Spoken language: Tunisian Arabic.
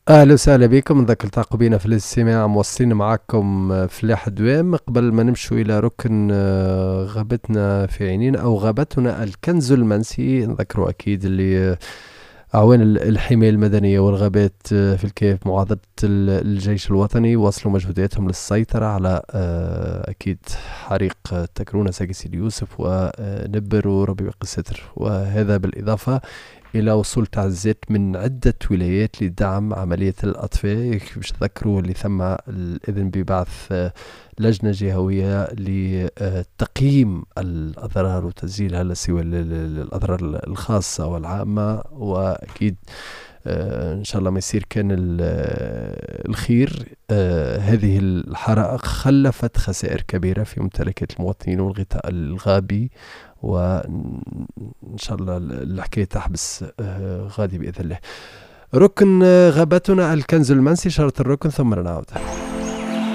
اهلا وسهلا بكم، نذكر التحقوا بنا في الاستماع، مواصلين معكم فلاح دوام. قبل ما نمشوا الى ركن غابتنا في عينينا او غابتنا الكنز المنسي، نذكروا اكيد اللي أعوان الحماية المدنية والغابات في الكاف معاضدة الجيش الوطني واصلوا مجهوداتهم للسيطرة على أكيد حريق تكرونة ساقي سيدي يوسف ونبر، وربي يبقي الستر. وهذا بالإضافة إلى وصول تعزيزات من عدة ولايات لدعم عملية الأطفاء. باش تذكروا اللي ثم الإذن ببعث لجنة جهوية لتقييم الأضرار وتسجيلها لا سوى الأضرار الخاصة والعامة، وأكيد إن شاء الله ما يصير كان الخير. هذه الحرائق خلفت خسائر كبيرة في ممتلكات المواطنين والغطاء الغابي، وإن شاء الله الحكاية تحبس غادي بإذن الله. ركن غابتنا الكنز المنسي، شارة الركن ثم نعود.